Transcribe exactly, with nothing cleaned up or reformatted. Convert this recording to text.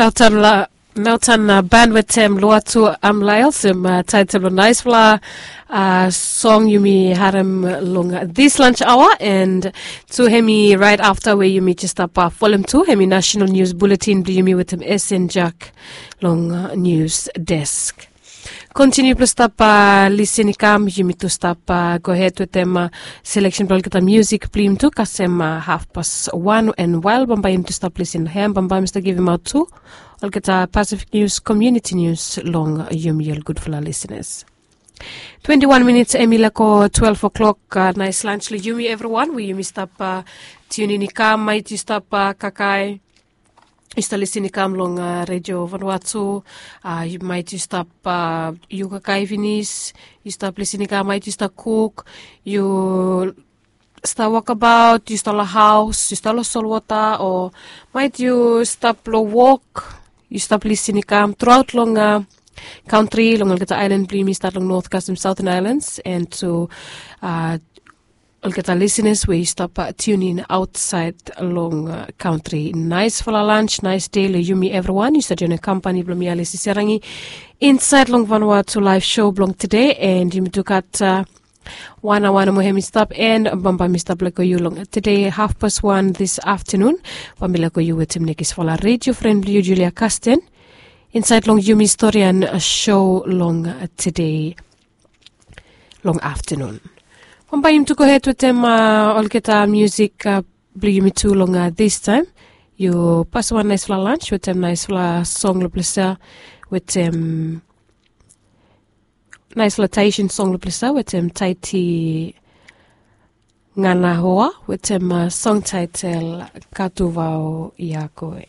Naotan la naotan ban wetem loa tu amlael sem taetel long naisfala song yumi harem long this lunch hour. And tu hemi right afta we yumi jes stap folem tu hemi national news bulletin blong yumi wetem esen jack long news desk. Kontiniu blong stap lisin i kam yumi tu stap gohed wetem seleksen blong olgeta musik blong yumi tu kasem hafpas wan. And wael bambae yumi tu stap lisin hem bambae mi stap givimaot tu olgeta pasifik nius komiuniti nius long yumi ol gudfala lisinas. Twenti wan minits em i lako twelve o'clock. Nais lans long yumi evriwan we yumi stap tiunin i kam mait yu stap kakae yu stap lisin i kam long redio vanua tu. Mait yu stap yu kakae finis yu stap lisin i kam mait yu stap kuk yu stap wokabaot yu stap long haos yu stap long solwota o mait yu stap long wok yu stap lisin i kam truaot long kantri long olgeta ailan blong yumi stat long north kasem southern islands and tu olgeta lisinas we yu stap tiunin aotsaed long kantri. Naisfala lans nais dei long yumi evriwan yu stap joinim kampani blong mi alisi serangi insaed long vanua tu laef sho blong tede and yumi tu gat wan aoa nomo hem i stap and bambae mi stap leko yu long tede hafpas wan this aftanun. Bae mi leko yu wetem nekisfala redio fren blong yu julia kasten insaed long yumi storian sho long tede long aftanun. Bambae yumi tu gohed wetem olgeta musik blong yumi tu long this taem. Yu pas wan naisfala lans wetem naisfala song long plesa wetem naisfala taesin song long plesa wetem taeti ngana hoa wetem song taetel katuvao yakoe.